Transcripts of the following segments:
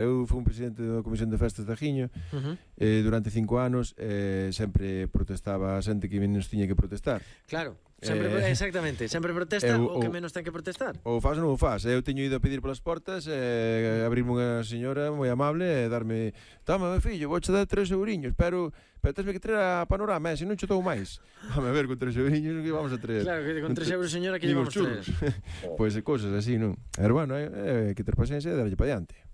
Eu fui un presidente da Comisión de Festas de Ajiño durante 5 anos, sempre protestaba a xente que menos tiña que protestar. Claro, sempre, exactamente, sempre protesta o que menos ten que protestar. Ou faz ou non o faz. Eu teño ido a pedir polas portas, abrirme unha señora moi amable e darme: toma, meu fillo, vouche dar 3 euriños, pero tesme que traer a Panorama, se non che dou máis. Vamos a ver, con 3 euriños que vamos a traer. Claro, que con 3 euros, señora, que lle vamos a traer. Pois cousas así, non? Pero bueno, que ter paciencia e darlle para diante.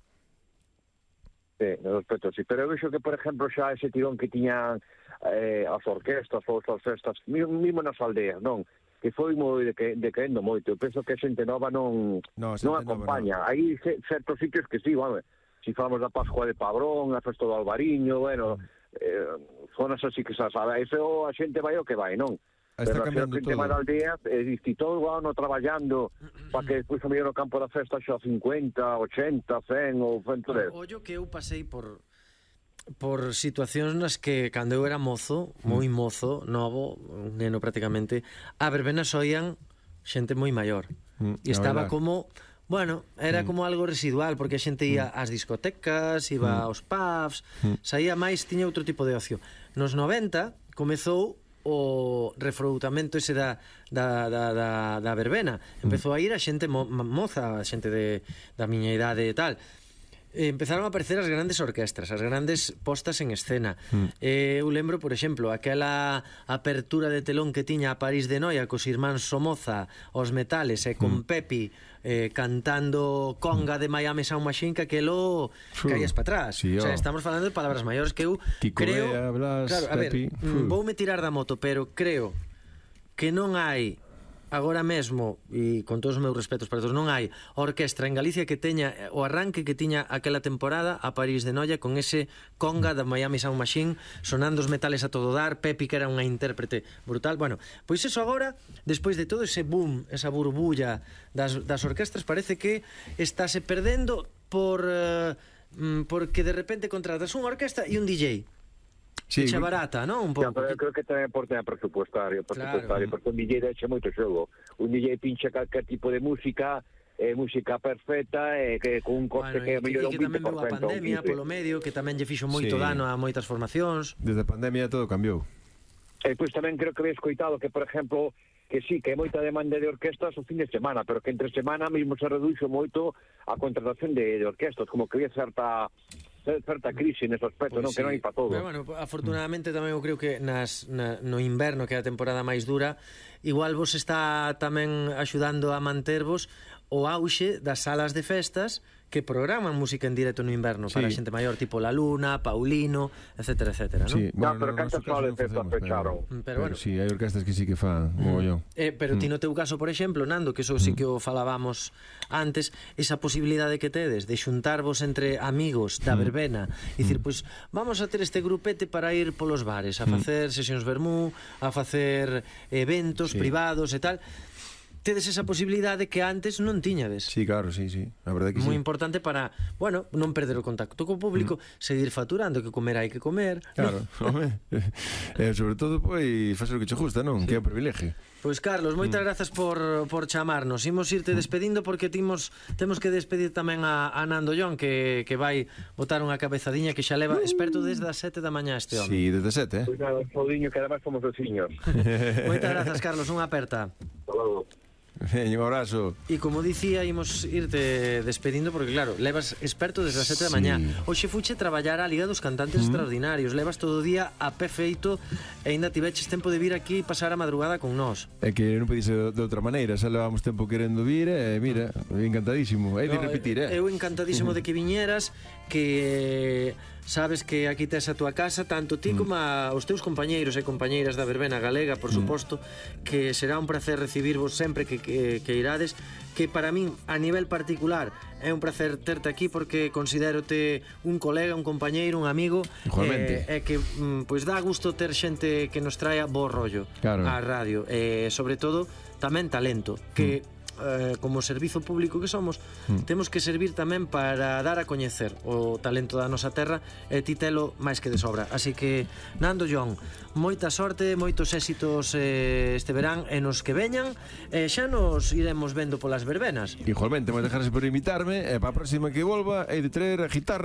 Sí, no aspecto sí, pero eu vexo que, por exemplo, xa ese tirón que tiñan as orquestas ou as festas, mesmo nas aldeas, non? Que foi moi decaendo moito. Eu penso que a xente nova non acompaña. Hai certos sitios que sí, vamos, si falamos da Pascua de Padrón, a festa do Albariño, bueno, zonas así que xa sabe, iso a xente vai o que vai, non? Está pero cambiando todo. Pero a aldeas, e todo o ano traballando para que despois a mellor no campo da festa xa 50, 80, 100 ou 110. Ollo que eu pasei por situacións nas que cando eu era mozo, moi mozo, novo, un neno prácticamente, a verbena soían xente moi maior. E estaba como, bueno, era como algo residual, porque a xente ia ás discotecas, iba aos pubs, saía máis, tiña outro tipo de ocio. Nos 90 comezou o refroutamento ese da verbena. Empezou a ir a xente moza, a xente da miña idade e tal. Empezaron a aparecer as grandes orquestras, as grandes postas en escena. Eu lembro, por exemplo, aquela apertura de telón que tiña a París de Noia cos irmáns Somoza, os Metales, e con Pepi cantando conga de Miami Sound Machine, que aquelo caías para atrás. O sea, estamos falando de palabras maiores que eu creo... Claro, a ver, voume tirar da moto, pero creo que non hai agora mesmo, e con todos os meus respetos para todos, non hai orquestra en Galicia que teña o arranque que tiña aquela temporada a París de Noia con ese conga da Miami Sound Machine sonando os Metales a todo dar, Pepi que era unha intérprete brutal. Bueno, pois eso agora, despois de todo ese boom, esa burbulla das orquestras, parece que estáse perdendo porque de repente contratas unha orquesta e un DJ. Sí, echa barata, non? Un pouco. Pero eu creo que tamén por tema presupuestario, porque un DJ deixa moito xogo. Un DJ pincha calquer tipo de música, música perfecta, que con un coste que mellora un 20%. Que tamén veu a pandemia polo medio, que tamén lle fixo moito dano a moitas formacións. Desde a pandemia todo cambiou. E pois tamén creo que habéis coitado que, por exemplo, que sí, que hai moita demanda de orquestas o fin de semana, pero que entre semana mesmo se reduxo moito a contratación de orquestas, como que había certa crise nese aspecto, non, que non hai para todo. Pero bueno, afortunadamente tamén eu creo que no inverno, que é a temporada máis dura, igual vos está tamén axudando a mantervos o auxe das salas de festas que programan música en directo no inverno para a xente maior, tipo La Luna, Paulino, etcétera, etcétera, non? Sí, bueno, pero cantas salas de festas pecharon. Pero bueno, sí, hai orquestas que sí que fan mogollón. Pero ti no teu caso, por exemplo, Nando, que eso sí que o falábamos antes, esa posibilidade que tedes de xuntarvos entre amigos da verbena e dicir, pois, vamos a ter este grupete para ir polos bares, a facer sesións vermú, a facer eventos privados e tal. Tedes esa posibilidade que antes non tiñades. Sí, claro, sí, a verdade que sí. Moi importante para, bueno, non perder o contacto co público, seguir facturando, que comer hai que comer. Claro, home. Sobre todo, pois, facer o que che gusta, non? Que é o privilegio. Pois, Carlos, moitas grazas por chamarnos. Imos irte despedindo porque temos que despedir tamén a Nando Llón, que vai botar unha cabezadiña que xa leva experto desde as 7 da mañá este home. Sí, desde 7, Pois nada, Saudiño, que además somos veciños. Moitas grazas, Carlos, unha aperta. Hasta logo. Un abrazo. E como dicía, imos irte despedindo porque claro, levas experto desde as 7 da mañá. Hoxe fuche traballar a Liga dos Cantantes Extraordinarios. Levas todo o día a pé feito e ainda tiveches tempo de vir aquí e pasar a madrugada con nós. É que non podía ser de outra maneira. Xa levamos tempo querendo vir e mira, encantadísimo. Hai de repetir, Eu encantadísimo de que viñeras, que sabes que aquí tes a túa casa, tanto ti como os teus compañeiros e compañeiras da verbena galega, por suposto, que será un placer recibirvos sempre que irades, que para min, a nivel particular, é un placer terte aquí porque considérote un colega, un compañeiro, un amigo, e que pois dá gusto ter xente que nos traia bo rollo á radio, e sobre todo tamén talento, que como servizo público que somos, temos que servir tamén para dar a coñecer o talento da nosa terra, e ti telo máis que de sobra. Así que, Nando, John, moita sorte, moitos éxitos este verán e nos que veñan, e xa nos iremos vendo polas verbenas. Igualmente, moitas gracias por invitarme, e para a próxima que volva hei de traer a guitarra